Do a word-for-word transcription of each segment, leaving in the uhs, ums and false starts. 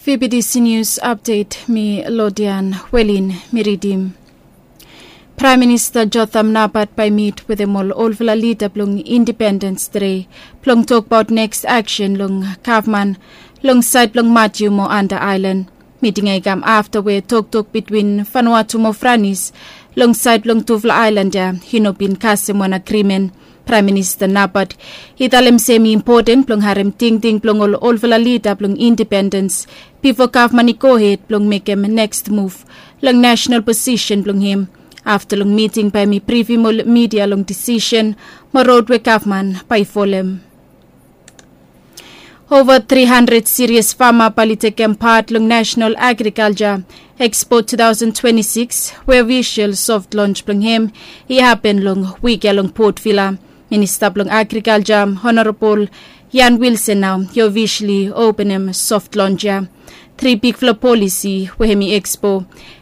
Fibidisi nius apdet mi lodian welin mi ridim. Praem Minista Jotham Napat bae i mit wetem ol olfala lida blong Indipendens Dei blong tokbaot neks aksen long gavman long saed blong Matiu mo Anda Aelan. Miting ya i kam afta we toktok bitwin Vanuatu mo Franis long saed blong tufala aelan ya i no bin kasem wan agrimen. Praem Minista Napat i talem se hem i impoten blong harem tingting blong ol olfala lida blong Indipendens bifo gavman i gohed blong mekem neks muv long nasenal posisen blong hem. Afta long miting bae hem i brifim ol midia long disisen mo rod we gavman bae i folem. Ova tri handred sirias fama bae oli tekem pat long Nasenal Agrikalja Ekspo tu taosen twenti sikis we ofisel soft lonj blong hem i hapen long wik ya long Port Vila. Minista blong Agrikalja Honorabol Jan Wilsen nao i ofiseli openem soft lonj ya. Tri bigfala polisi we hem i ekspo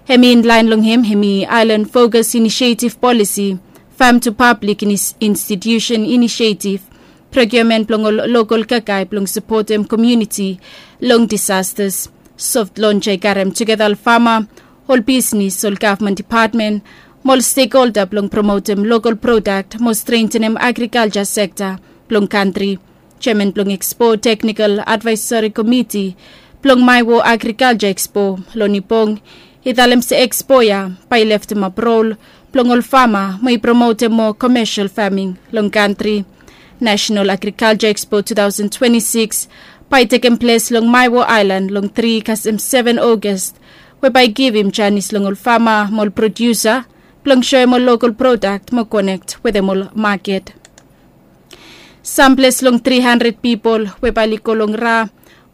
hem i inlaen long hem hem i Aelan Fokas Inisietiv Polisi, Fam tu Pablik Institusen Inisietiv, prokiumen blong ol lokol kakae blong sapotem komuniti long disastas. Soft lonj ya i karem tugeta ol fama, ol bisnis, ol gavman dipatmen mo ol stekholda blong promotem lokol prodak mo strentenem agrikalja sekta blong kantri. Jeaman blong Ekspo Teknikal Advaesori Komiti blong Maewo Agrikalja Ekspo, Loni Bong, i talem se ekspo ya bae i leftemap rol blong ol fama mo i promotem moa komesel faming long kantri. Nasenal Agrikalja Ekspo tu taosen twenti sikis bae i tekem ples long Maewo Aelan long tri kasem seven Ogas, we bae i givim janis long ol fama mo ol prodiusa blong soem ol lokol prodak mo konek wetem ol maket. Samples long tri handred pipol we bae oli go long Ra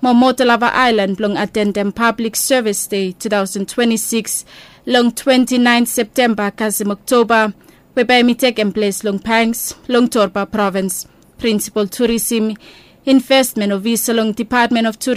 mo Motalava Aelan blong atendem Pablik Sevis Dei tu taosen twenti sikis long twenti naen Septemba kasem Oktoba, we bae hem i tekem ples long Pangs long Torba Provins. Prinsipol Turisem, Investmen Ofisa long Dipatmen of Turisem